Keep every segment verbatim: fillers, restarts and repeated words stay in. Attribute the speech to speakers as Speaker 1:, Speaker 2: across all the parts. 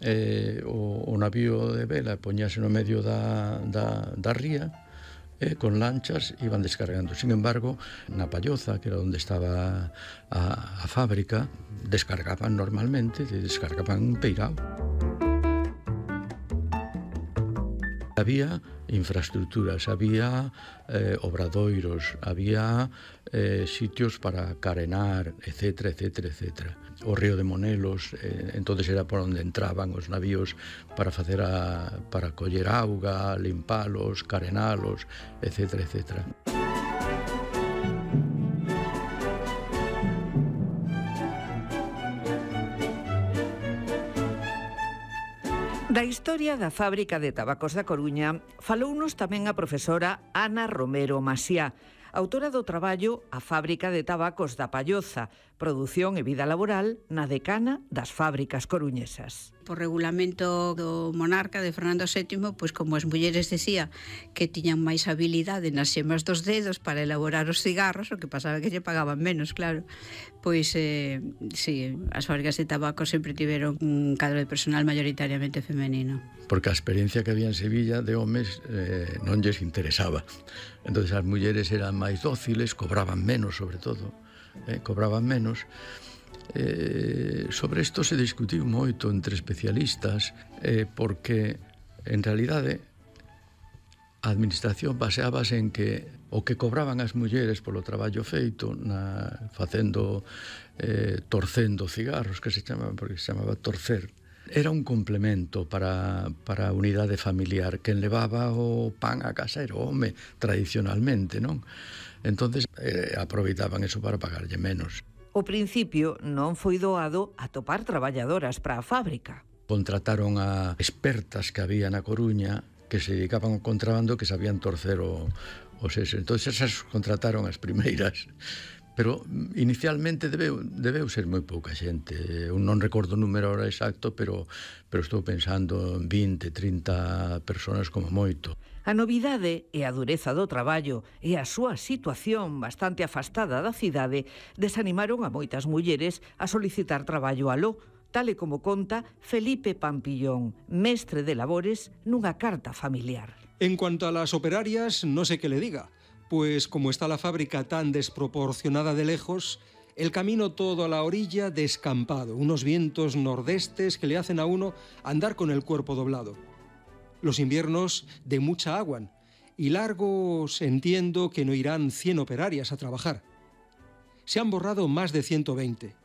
Speaker 1: eh, o, o navío de vela poñase no medio da, da, da ría, eh, con lanchas iban descargando. Sin embargo, na Palloza, que era onde estaba a, a fábrica, descargaban normalmente, descargaban un peirao. Había infraestructuras, había eh, obradoiros, había eh, sitios para carenar, etcétera, etcétera, etcétera. O río de Monelos, eh, entonces era por onde entraban os navíos para facer a, para coller auga, limpalos, carenalos, etcétera, etcétera.
Speaker 2: Da historia da fábrica de tabacos da Coruña falounos tamén a profesora Ana Romero Masiá, autora do traballo A fábrica de tabacos da Palloza, produción e vida laboral na decana das fábricas coruñesas.
Speaker 3: Por regulamento do monarca de Fernando sétimo, pois como as mulleres decía que tiñan máis habilidade nas xemas dos dedos para elaborar os cigarros, o que pasaba que lle pagaban menos, claro. Pois, eh, sí, as fábricas de tabaco sempre tiveron un cadro de personal mayoritariamente femenino.
Speaker 1: Porque a experiencia que había en Sevilla de homes eh, non lles interesaba. Entonces as mulleres eran máis dóciles, cobraban menos, sobre todo, eh, cobraban menos. Eh, sobre isto se discutiu moito entre especialistas, eh, porque en realidade a administración baseábase en que o que cobraban as mulleres polo traballo feito na, facendo eh, torcendo cigarros, que se chamaba, porque se chamaba torcer, era un complemento para, para a unidade familiar. Quen levaba o pan a casa era o home, tradicionalmente, non? Entonces eh, aproveitaban eso para pagarlle menos.
Speaker 2: O principio non foi doado atopar traballadoras para a fábrica.
Speaker 1: Contrataron a expertas que había na Coruña que se dedicaban ao contrabando, que sabían torcer o, o seso. Entón, esas contrataron as primeiras. Pero inicialmente debeu, debeu ser moi pouca xente. Eu non recordo o número ahora exacto, pero, pero estou pensando en vinte, trinta personas como moito.
Speaker 2: A novidade e a dureza do traballo e a súa situación bastante afastada da cidade desanimaron a moitas mulleres a solicitar traballo aló, tal e como conta Felipe Pampillón, mestre de labores nunha carta familiar.
Speaker 4: En cuanto a las operarias, no sé qué le diga, pues como está la fábrica tan desproporcionada de lejos, el camino todo a la orilla descampado, unos vientos nordestes que le hacen a uno andar con el cuerpo doblado. Los inviernos de mucha agua, y largos entiendo que no irán cien operarias a trabajar. Se han borrado más de ciento veinte,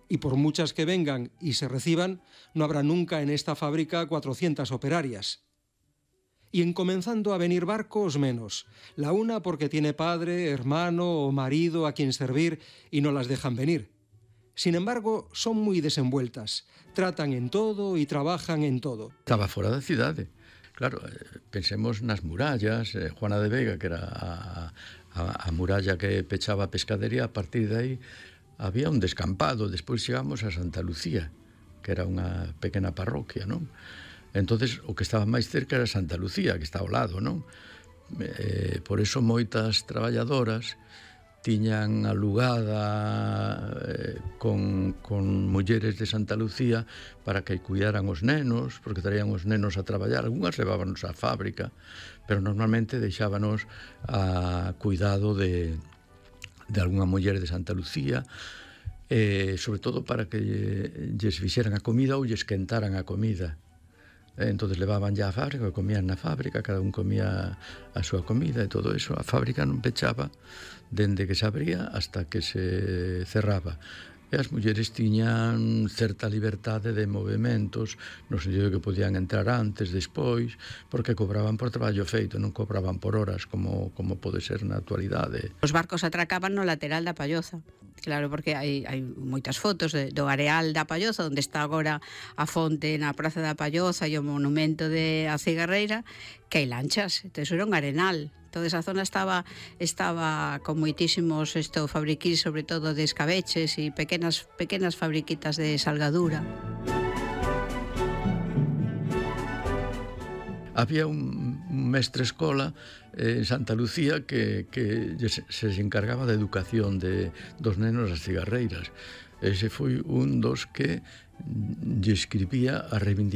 Speaker 4: y por muchas que vengan y se reciban, no habrá nunca en esta fábrica cuatrocientas operarias. Y en comenzando a venir barcos, menos. La una porque tiene padre, hermano o marido a quien servir y no las dejan venir. Sin embargo, son muy desenvueltas, tratan en todo y trabajan en todo.
Speaker 1: Estaba fora da cidade. Claro, pensemos nas murallas, eh, Juana de Vega, que era a, a, a muralla que pechaba a pescadería, a partir de aí había un descampado, despois chegamos a Santa Lucía, que era unha pequena parroquia, non? Entonces, o que estaba máis cerca era Santa Lucía, que está ao lado, non? Eh, por eso moitas traballadoras tiñan alugada eh, con, con mulleres de Santa Lucía para que cuidaran os nenos, porque traían os nenos a traballar. Algúnas levábanos á fábrica, pero normalmente deixábanos a cuidado de, de algunha muller de Santa Lucía, eh, sobre todo para que lles fixeran a comida ou lles quentaran a comida. Entonces levaban ya a fábrica, comían na fábrica, cada un comía a súa comida e todo eso. A fábrica non pechaba dende que se abría hasta que se cerraba. E as mulleres tiñan certa liberdade de movimentos, no sentido de que podían entrar antes, despois, porque cobraban por traballo feito, non cobraban por horas como, como pode ser na actualidade.
Speaker 3: Os barcos atracaban no lateral da Palloza. Claro, porque hai, hai moitas fotos de, do areal da Palloza, onde está agora a fonte na Praza da Palloza e o monumento de a Cigarreira, que hai lanchas, entón era un arenal. Toda esa zona estaba estaba con moitísimos esto fabriquís, sobre todo de escabeches e pequenas pequenas fabriquitas de salgadura.
Speaker 1: Había un, un mestre escola eh, en Santa Lucía que, que se, se encargaba da educación de, dos nenos das cigarreiras. Ese foi un dos que lle escribía a reivindicación